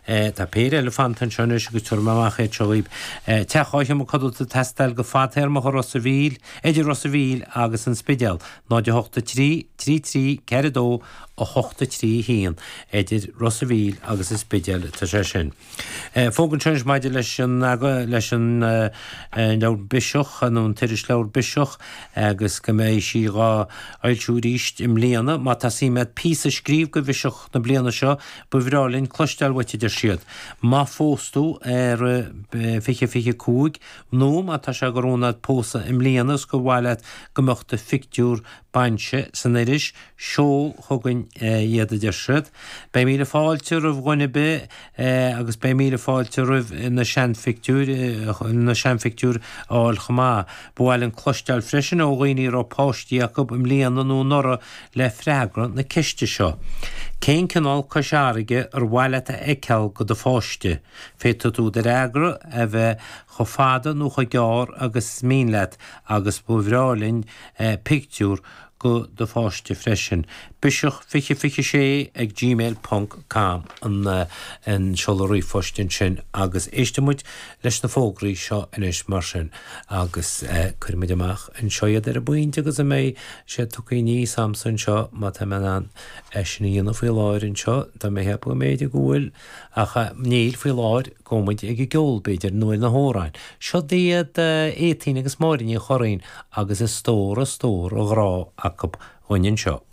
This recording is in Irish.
Tá péire eile fanta anseo anois agus tabharfaidh mé amach iad seo dhaoib. Teach dhá sheomra codlata ag teastáil go fadtéarmach i Ros a' Mhíl, idir Ros a' Mhíl agus an Spidéal, 0 8 3 3 3 4 2 8 3 1, idir Ros a' Mhíl agus an Spidéal atá sé sin. Fógra anseo anois maidir leis an leis an leabhar Biseach nó an t-irisleabhar Biseach agus go mbeidh sí dhá fhoilsiú arís i mbliana. Má tá suim agat píosa a scríobh go Bhiseach na bliana seo, Ba bhreá linn cloisteáil uait, a deir siad. Má phós tú i rith 2025, nó má tá sé de rún agat pósadh i mbliana is gur mhaith leat go mbeadh do phictiúr bainse san iris, seol chugainn iad, a deir siad. Beidh míle fáilte roimh dhuine ar bith agus beidh míle fáilte roimh na seanphictiúir, na seanphictiúir a fháil chomh maith. Ba mhaith linn cloisteáil freisin ó dhaoine a raibh páistí acu i mbliana nó anuraidh le freagra na ceiste seo, Cén cineál Cois Fharraige ar mhaith leat a fheiceáil go do pháiste? Féadfaidh tú do fhreagra a bheith chomh fada nó chomh gearr agus is mian leat agus ba bhreá linn pictiúr go do pháiste freisin. Biseach 2026 ag gmail ponc com an seoladh ríomhphoist ansin agus éistfidh muid leis na fógraí seo anois mar sin agus cuirfidh muid amach anseo iad ar an bpointe agus a mbeidh siad tugtha aníos a'msa anseo má tá mé in ann é sin a dhéanamh faoi láthair anseo tá mé ag ceapadh go mb'fhéidir go bhfuil ach níl faoi láthair gabhfaidh muid ag an gceol b'fhéidir nó ar na hamhráin. Seo iad Étaín agus Máire Ní Churraoin agus a stór a stór a ghrá acu dhúinn anseo.